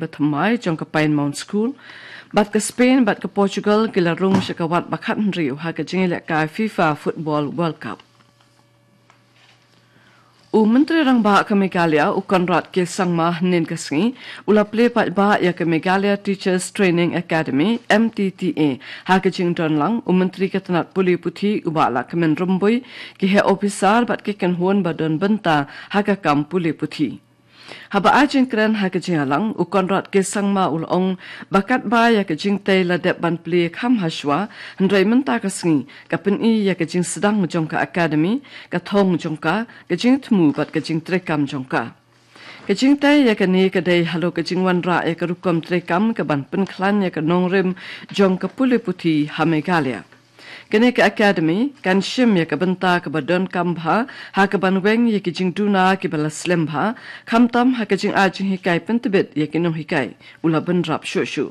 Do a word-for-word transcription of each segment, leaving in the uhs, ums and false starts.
bathymmai jong ka Pine Mount School, bad ka Spain bad ka Portugal ki la rung sha ka wat ba khathynriew ha ka jingïalehkai FIFA Football World Cup. U Myntri Rangbah ka Meghalaya, u Conrad K Sangma, hynnin ka sngi u la plie paidbah ïa ka Meghalaya Teachers Training Academy, M T T A, ha ka jingdon lang u Myntri ka tnat pule puthi, u Bah Lahkmen Rymbui, ki heh ophisar bad ki kynhun ba don bynta ha ka kam pule puthi. Haba ai jingkren ha ka jingïalang, u Conrad K Sangma u la ong ba katba ïa ka jingtei la dep ban plie kham hashwa, hynrei mynta ka sngi ka pyni ïa ka jingsdang jong ka academy, ka thong jong ka, ka jingthmu bad ka jingtreikam jong ka. Ka jingtei ïa kane ka dei halor ka jingwanrah ïa ka rukom treikam kaban pynkhlaiñ ïa ka nongrim jong ka pule puthi ha Meghalaya. Kane ka academy kan shim ïa ka bynta kaba donkam bha ha kaban weng ïa ki jingduna kiba la slem bha, khamtam ha ka jingai jinghikai pyntbit ïa ki nonghikai, u la bynrap shuh shuh.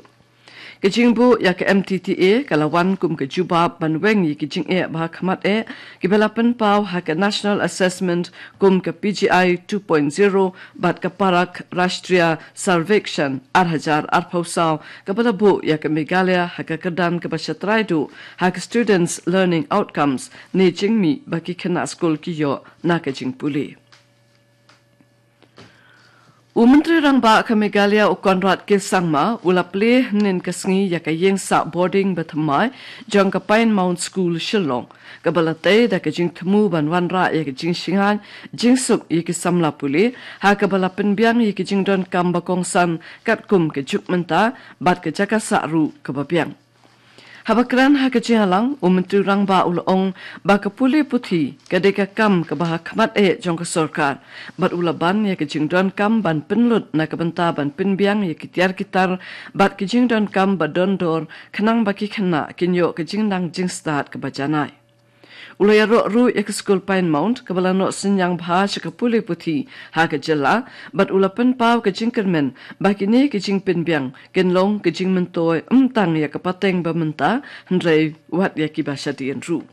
Ka jingbuh ïa ka M T T A ka la wan kum ka jubab ban weng ïa ki jingeh ba ha khmat eh kiba la pynpaw ha ka National Assessment kum ka P G I two point zero bad ka Parakh Rashtriya Survekshan ar hajar arphew saw, kaba la buh ïa ka Meghalaya ha ka kyrdan kaba shatrai duh ha ka Students Learning Outcomes, ne jingmih ba ki khynnah skul ki ïoh na ka jingpule. U Myntri Rangbah ka Meghalaya, u Conrad K Sangma, u la plie hynnin ka sngi ïa ka ïing sah boarding bathymmai jong ka Pine Mount School, Shillong, kaba la tei da ka jingthmu ban wanrah ïa ka jingshngaiñ jingsuk ïa ki samla pule, ha kaba la pynbiang ïa ki jingdonkam ba kongsan katkum ka juk mynta bad ka jaka sah ruh kaba biang. Haba kren ha ka jingïalang, u Myntri Rangbah u la ong ba ka pule puthi ka dei ka kam kaba ha khmat eh jong ka sorkar, bad u la ban ïa ka jingdonkam ban pynlut na ka bynta ban pynbiang ïa ki tiar ki tar bad ki jingdonkam ba don dor, khnang ba ki khynnah kin ïoh ka jingnang jingstad kaba janai. U la ïaroh ruh ïa ka skul Pine Mount kaba la noh synñiang bha sha ka pule puthi ha ka jylla, bad u la pynpaw ka jingkyrmen ba kine ki jingpynbiang kin long ka jingmyntoi ym tang ïa ka pateng ba mynta, hynrei wat ïa kiba shadien ruh.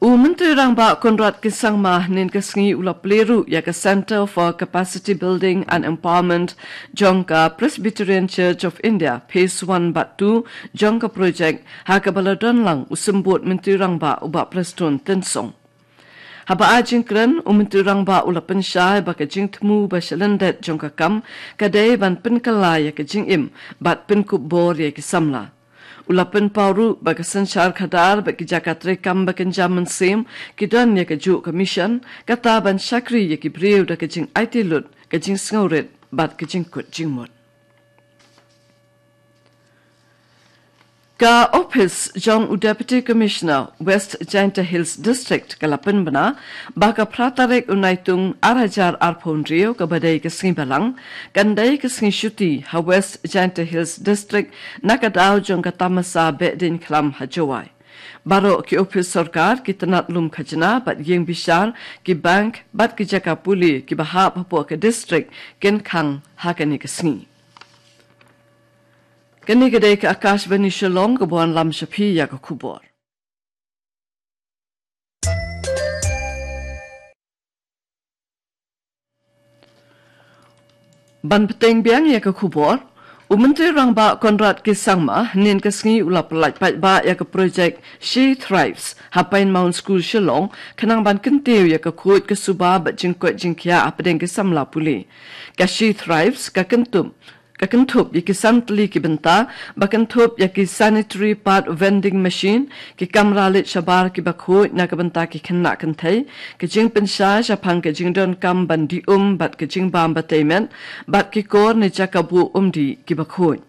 U Myntri Rangbah Conrad K Sangma hynnin ka sngi u la plie ruh ïa ka Centre for Capacity Building and Empowerment jong ka Presbyterian Church of India Phase one bad two jong ka project, ha kaba la don lang u Symbud Myntri Rangbah, u Bah Prestone Tynsong. Haba ai jingkren, u Myntri Rangbah u la pynshai ba ka jingthmu ba shalyndet jong ka kam ka dei ban pynkylla ïa ka jingim bad pynkup bor ïa ki samla. U la pynpaw ruh ba ka synshar khadar bad ki jaka treikam ba kynja mynsiem ki don ïa kajuh ka mission, kata ban shakri ïa ki briew da ka jingaiti lut, ka jingsngewrit bad ka jingkut jingmut. Ka ophis jong u Deputy Commissioner West Jaintia Hills District ka la pynbna ba ka phra tarik u Naitung ar hajar arphew hynriew, kaba dei ka sngi Balang, kan dei ka sngi shuti ha West Jaintia Hills District na ka daw jong ka tamasa Behdeiñkhlam ha Jowai. Baroh ki ophis sorkar, ki tnat lum khajna bad ïing bishar, ki bank bad ki jaka pule kiba hap hapoh ka district kin khang ha kane ka sngi. Kane ka dei ka Akashvani Shillong, kaba wanlam sha phi ïa ka khubor. Ban bteng biang ïa ka khubor, u Myntri Rangbah Conrad K Sangma hynnin ka sngi u la pyllait paidbah ïa ka project She Thrives ha Pine Mount School, Shillong, khnang ban kyntiew ïa ka khuid ka suba bad jingkoit jingkhiah hapdeng ki samla pule. Ka She Thrives ka kynthup ka kynthup ïa ki san tylli ki bynta, ba kynthup ïa ki sanitary pad vending machine, ki kamra leit shabar kiba khuid na ka bynta ki khynnah kynthei, ka jingpynshai shaphang ka jingdonkam ban dih um bad ka jingbam ba tei met, bad ki kor ne jaka buh umdih kiba khuid.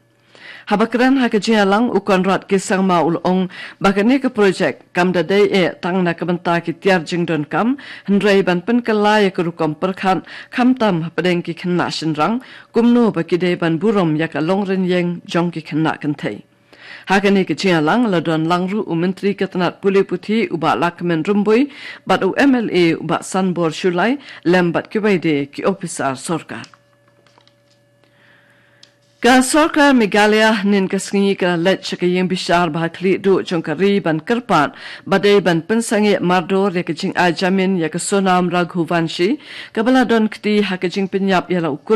Haba kren ha ka jingïalang, u Conrad K Sangma u la ong ba kane ka project kam da dei eh tang na ka bynta ki tiar jingdonkam, hynrei ban pynkylla ïa ka rukom pyrkhat, khamtam hapdeng ki khynnah shynrang, kumno ba ki dei ban burom ïa ka longrynïeng jong ki khynnah kynthei. Ha kane ka jingïalang la don lang ruh u Myntri ka tnat pule puthi, u Bah Lahkmen Rymbui, bad u M L A u Bah Sanbor Shullai, lem bad kiwei de ki ophisar sorkar. Ka Sorkar Meghalaya hynnin ka sngi ka la leit sha ka ïing bishar ba ha khlieh duh jong ka ri ban kyrpad ba dei ban pynsangeh mardor ïa ka jingai jamin ïa ka Sonam Raghuvanshi, kaba la don kti ha ka jingpynïap ïa la u kurim